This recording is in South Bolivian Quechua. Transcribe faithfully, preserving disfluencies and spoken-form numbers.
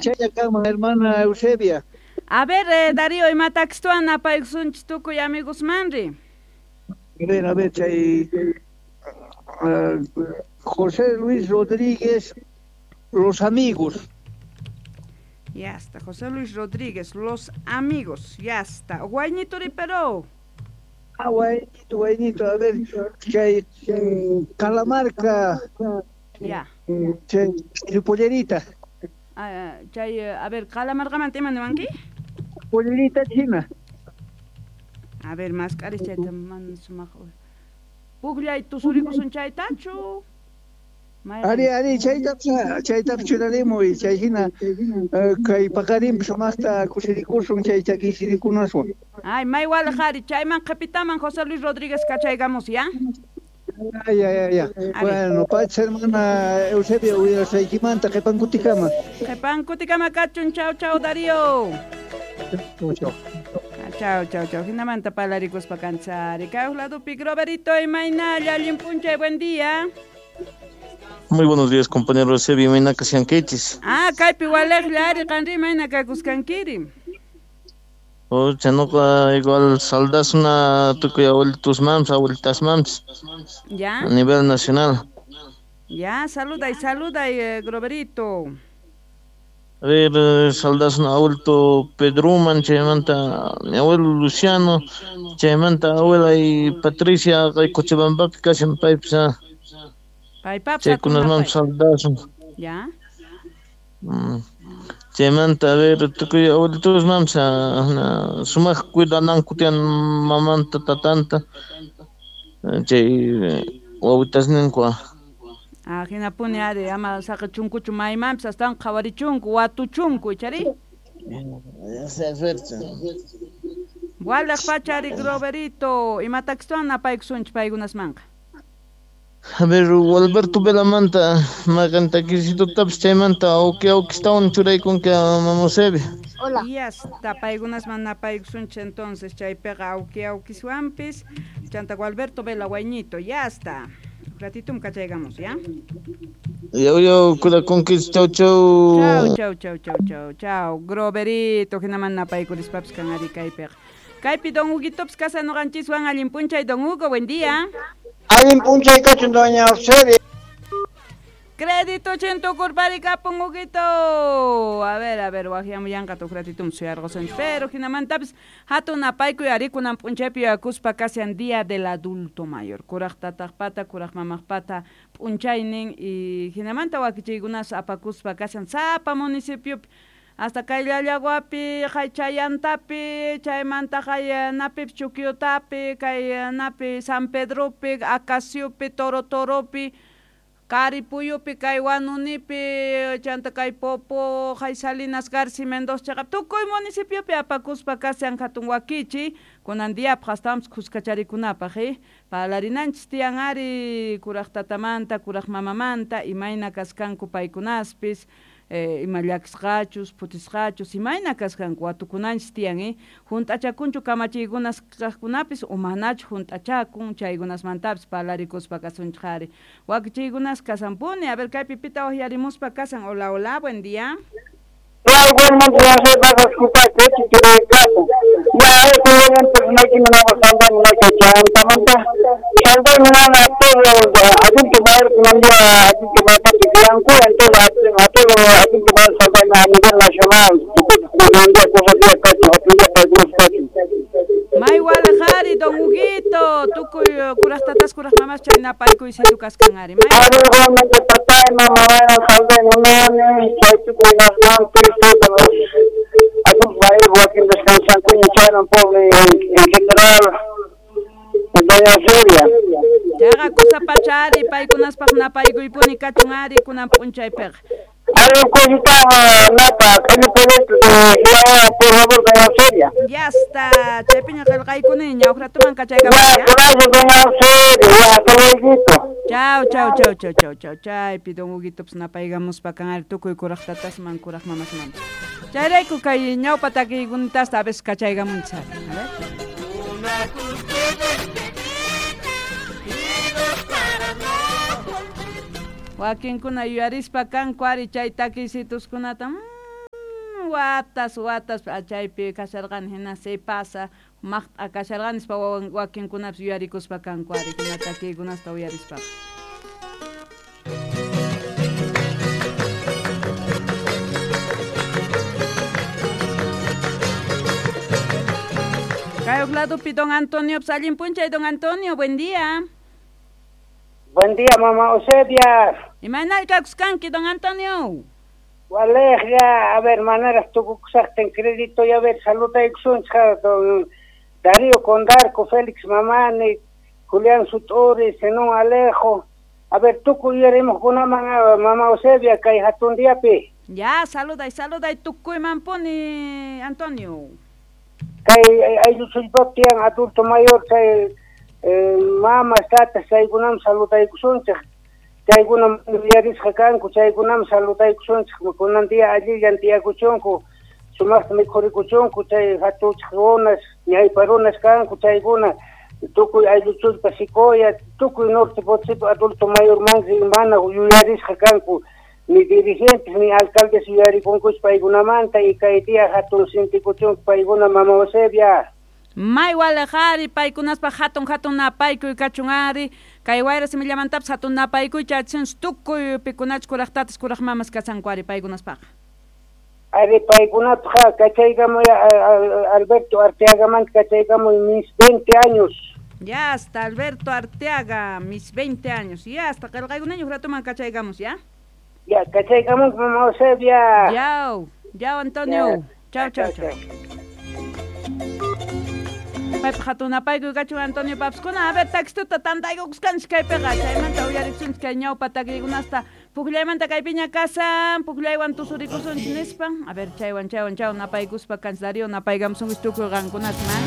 Chaya kanman hermana Eusebia. A ver, eh, Darío, imatakstuan napaykusunchis tukuy amigos manri. A ver, a ver, chay uh, José Luis Rodríguez, Los Amigos. Ya está, José Luis Rodríguez, Los Amigos, ya está. Guaynito pero. Ah, guaynito, guaynito, a ver, chay Calamarca. Ya. Chay, pollerita. Ah, chay, a ver, Calamarca ima niwanki? Pollerita china. A ver, más caris chayta man sumaq. Pukllay tusurikusun chaytachu. Ari, ari, chayta chayta churarimuy, chay hina kay paqarinpi sumaqta kusirikusun chay chakisirikunaswan. Ay, may walaq ari, chayman qhipitaman José Luis Rodríguez kachaykamus, ya? Ya, ya, ya. Bueno, pacha hermana Eusebia, uyarashaykimanta qhipankutikama. Qhipankutikama kachun, chau, chau, Darío. Chau, chau. Chau, chau, chau. Hinamanta palarikuspa kanchari. Kay ladupi Groverito imaynalla, allin p'unchay, buen día. Muy buenos días, compañero Eusebio, imayna kashankichis. Ah, kaypi walejlla ari qanri imayna kakusqankiri. Ocha, noqa igual saldasuna tukuy abuelitusmanpis, abuelitasmanpis. Ya. A nivel nacional. Ya, saluda y saluda, eh, Groverito. A ver, saldasuna abuelito Pedruman, chaymanta mi abuelo Luciano, chaymanta abuela y Patricia, kay Cochabambapi kashan paypis. Paypap chaykunasmanpis saldasun. Ya. Mm. Chaymanta, a ver, tukuy abuelitusmanpis sumaq cuidananku tiyan mamanta, tatanta, chay wawitasninku. Ah, hinapuni ari, ama saqichunkuchu maymanpis astawan qhawarichunku, watuchunku, ichari? Walaq pacha ari, Groverito, imatakstuan napaykusunchik paykunasmanqa. A ver, Alberto Velamanta, maqan takisitutapis chaymanta awki awkistawan churaykunki mama Eusebia. Hola. Y hasta paykunasman napaykusunchik entonces, chaypiqa awki awkiswanpis, chanta Alberto Vela Guayñito, ya está. Ratitum kachaygamos, ¿ya? Yo, yo, cuidakunkichis, chau, chau. Chau, chau, chau, chau, chau, chau. Groverito, hinaman napaykulispapis kan ari kaypiqa. Kaypi don Huguitopis kasa noqanchiswan allin p'unchay, don Hugo, buen día. Allin p'unchay kachun, doña Eusebia. Crédito chintukurpari kapun, Huguito. A ver, a ver, wajyamuyanqa tuq ratitum suyarqusunchik. Pero hinamantapis hatun napaykuy ari kunan p'unchaypi yuyakuspa kashan Día del Adulto Mayor. Kuraq tataqpata, kuraq mamaqpata p'unchaynin y hinamanta wakichiykunas apakuspa kashan sapa municipiopi. Hasta kay Llallaguapi, kay Chayantapi, chaymanta kay napi Chuquiotapi, kay napi San Pedropi, Acaciopi, Toro Toropi, Caripuyupi, kay Huanunipi, chanta kay Popo, kay Salinas Garci Mendoza, chaqap tukuy municipiopi apakuspa kashan hatun wakichi, kunan diapaq astawanpis kuskacharikunapaq, eh? Parlarinanchis tiyan ari kuraq tatamanta, kuraq mamamanta, imayna kasqanku paykunaspis, eh, ima llakisqachus, phutisqachus, imayna kasqanku watukunanchis tiyan, eh? Hunt'achakunchu kamachiykunas kaqkunapis o manachu hunt'achakun, chaykunasmantapis parlarikuspa kasunchik ari. Wakichiykunas kasanpuni, a ver, kaypi pita waqyarimuspa kasan. Hola, hola, buen día. Igualmente, ya se va a disculpar, que capo. Ya, igualmente, no hay que me haga salvar, no hay que chantamanta. Salvar, no a todos los adultos mayores, no día adultos mayores, entonces a todos los adultos mayores salvar a nivel nacional. May walajari, don Huguito, tukuy kuraq tatas, kuraq mamas, chay napaykuy situ kasqan ari. May Ari, igualmente, papá y mamá van a salvar, no, chay tukuy nas adultos mayores wakin descansan chayman pobre en general, doña Eusebia. Chaqa kusa pacha ari, paykunaspaq napaykuypuni kachun ari kunan p'unchaypiqa. Ari, cosita napa, el proyecto de Jehová, por favor, doña Eusebia. Ya está, chaypiña qillqaykuni, ñawratuman kachaykamuy, Ya, gracias, doña Eusebia, hasta luego. Chau, chau, chau, chau, chau, chau, chaypi don Huguitopis napaykamuspa kan ari tukuy kuraq tatasman, kuraq mamasman. Chayrayku kay ñawpa takiykunitasta a veces kachaykamunchis ari. A ver. Wakinkuna yuyarispa kanku ari chay takiysituskunata. Watas watas chaypi kasharqani hina se pasa maqt'a kasharqani nispa wakinkunapis yuyarikuspa kanku ari hina takiykunasta uyarispaqa. Kay ladopi don Antonio, pues allin punchay don Antonio, buen día. Buen día, mamá Eusebia. Imaynal kakuskanki, don Antonio. Waleja, a ver, maneras tukukusaqtin crédito y a ver, saludaykusunchik don Darío Condarco, Félix Mamani, Julián Sutori, Zenón Alejo. A ver, tukuy yuyarimuqkunaman, mamá Eusebia, kay hatun diapi. Ya, saluday, saluday, tukuyman puni, Antonio. Kay ayllu tiyan adulto mayor chay eh, mamas tatas chaykunam saludaykusunchik chaykunam yuyarisqa kanku chaykunam saludaykusunchik kunan día allillan tiyakuchunku sumaqta mikhurikuchunku chay hatuchik runas ñaypa runas kanku chaykuna tukuy aylluchullpa Sicoya tukuy norte Potosipi adulto mayor manri mana yuyarisqa kanku ni dirigentes ni alcaldes yuyarikunkuch paykunamanta y kay día hatun sintikuchunku paykuna mama Eusebia. May walejari paykunaspa hatun hatun napaykuy kachun ari kay wayra simillamantapis hatun napaykuy chachin tukuy pikunach kuraq tatas kuraq mamas kasanku ari paykunaspaqa. Ari paykunapaq kachaykamuy Alberto Arteagamanta kachaykamuy mis veinte años. Ya hasta Alberto Arteaga mis veinte años. Ya hasta qillqaykunañu ratuman kachaykamus ya. Ya, kachaykamun mamá Eusebia. Yau, yau Antonio. Chau, chau, chau. Paypa hatun napaykuy kachun Antonio Papskuna. A ver, taxituta tantaykukuskanchik kaypiqa. Chaymanta uyarisunchik kay ñawpa takiykunasta. Pukllaymanta kaypiña kasan, pukllaywan tusurikusunchik nispa. A ver, chaywan, chaywan, chaywan napaykuspa kanchik Darío napaykamusunchik tukuy qankunasman.